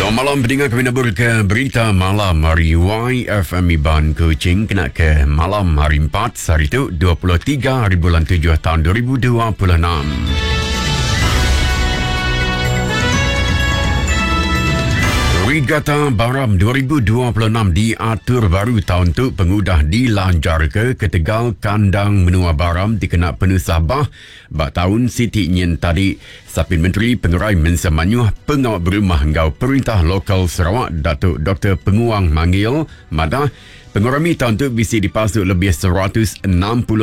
Selamat malam peninga kami nabur ke berita malam hari YFM Iban Kuching kena ke malam hari 4 sehari tu 23 hari bulan 7 tahun 2026. Regatta Baram 2026 diatur baru taun tu pengudah dilanjarka ketegal kandang menua Baram dikena penusah bah ba taun siti nyin tadi. Sapit Menteri Pengerai Mensia Mayuh, Pengawa Berumah enggau Perintah Lokal Sarawak Datuk Doktor Penguang Manggil madah, pengerami taun tu bisi dipasuk lebih 160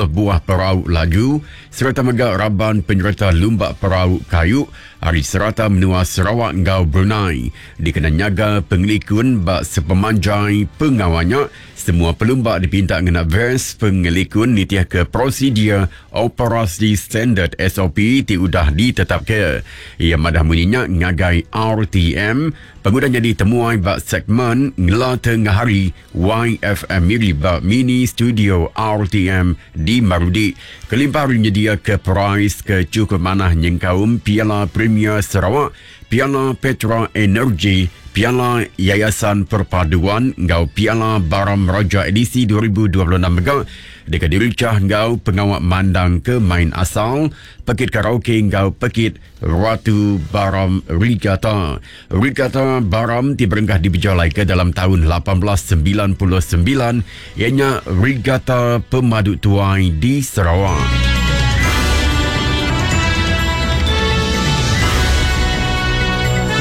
buah perau laju sereta mega raban penyereta lumba perau kayu ari serata menua Sarawak enggau Brunei. Dikena nyaga pengelikun ba sepemanjai pengawa nya, semua pelumba dipinta ngena ves pengelikun nitihka prosedur operasi standard, SOP, ti udah ditetapka. Iya madah munyi nya ngagai RTM pengudah nyadi temuai ba segmen Ngela Tengahari YFM Miri ba Mini Studio RTM di Marudi kelimpah ari nyediaka perais ke chukup manah nyengkaum Piala Premier Sarawak, Piala Petra Energy, Piala Yayasan Perpaduan enggau Piala Baram Raja Edisi 2026 mega deka dirichah enggau pengawa mandangka main asal, pekit karaoke enggau pekit Ratu Baram Regatta. Regatta Baram ti berengkah dipejalaika dalam taun 1899 iya nya regatta pemadu tuai di Sarawak.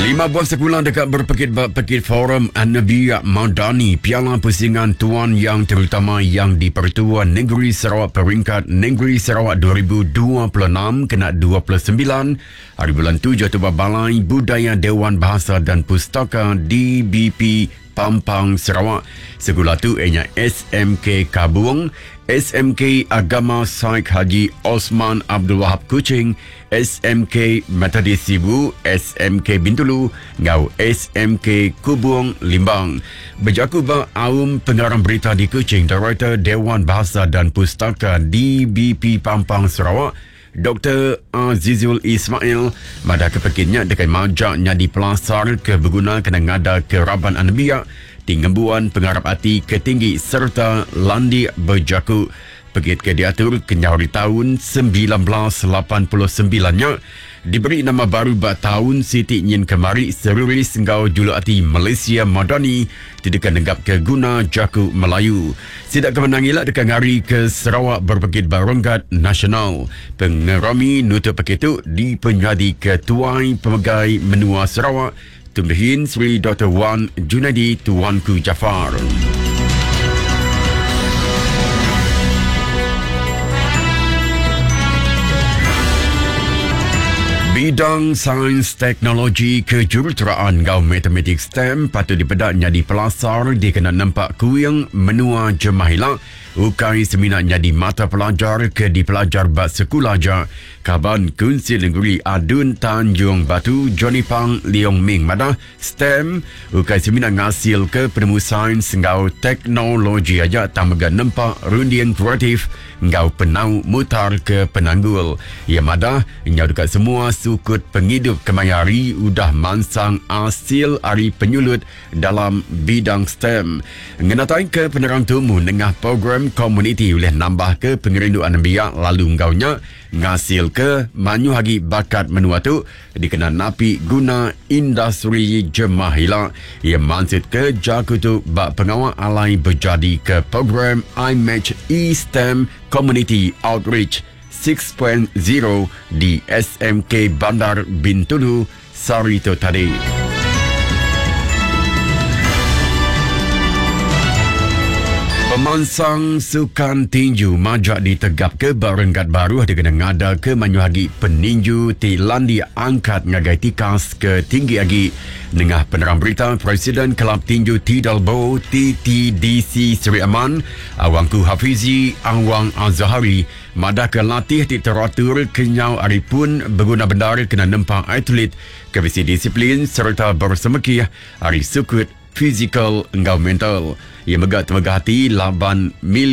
Lima buah sekula deka berpekit ba Pekit Forum Anebiak Madani Piala Pusingan Tuan Yang Terutama Yang di-Pertua Negeri Sarawak Peringkat Negeri Sarawak 2026 kena 29 hari bulan 7 tu ba Balai Budaya Dewan Bahasa dan Pustaka DBP Pampang Sarawak. Sekula tu iya nya SMK Kabung, SMK Agama Saik Haji Osman Abdul Wahab Kuching, SMK Methodist Sibu, SMK Bintulu enggau SMK Kubung Limbang. Bejaku ba aum pengarang berita di Kuching, Direktor Dewan Bahasa dan Pustaka DBP Pampang Sarawak, Doktor Azizul Ismail madahka pekit nya deka majak nyadi pelasar ke beguna kena ngadaka raban anembiak ti ngembuan pengarap ati ke tinggi sereta landik bejaku. Pekit ke diatur kenyau ari taun 1989 nya diberi nama baru ba taun siti nyin kemari seruris enggau juluk ati Malaysia Madani ti deka negapka guna jaku Melayu. Sida ke menang ila deka ngarika Sarawak berpekit ba renggat nasional. Pengerami nutup pekit tu dipenyadika Tuai Pemegai Menua Sarawak, Tun Pehin Sri Doktor Wan Junaidi Tuanku Jaafar. Bidang Sains, Teknologi, Kejuruteraan enggau Matematik STEM patut dipeda nyadi pelasar dikena nempa kuing menua jemah ila, ukai semina nyadi mata pelajar ke dipelajar ba sekula aja, Kaban Kunsil Nengeri ADUN Tanjung Batu Johnny Pang Leong Ming madah STEM ukai semina ngasilka penemu sains enggau teknologi aja tang mega nempa runding kreatif enggau penau mutarka penanggul. Iya madah, nyau deka semua sukut pengidup kemaya hari udah mansang asil ari penyulut dalam bidang STEM. Ngenataika penerang tumu nengah program komuniti ulih nambahka pengerindu anembiak lalu enggau nya ngasilka mayuh agi bakat menua tu dikena napi guna industri jemah ila. Iya mansutka jaku tu ba pengawa alai bejadika program iMatch eSTEM Community Outreach 6.0 di SMK Bandar Bintulu sehari tu tadi. Pemansang sukan tinju majak ditegapka ba renggat baruh dikena ngadaka mayuh agi peninju ti landik angkat ngagai tikas ke tinggi agi. Nengah penerang berita, Presiden Kelab Tinju Tidalbo TTDC Seri Aman, Awangku Hafizi Awang Azahari madahka latih ti teratur kenyau ari pun beguna bendar kena nempa atlet ke bisi disiplin sereta bersemekih ari sukut fizikal enggau mental. Iya mega temegah ati laban milih.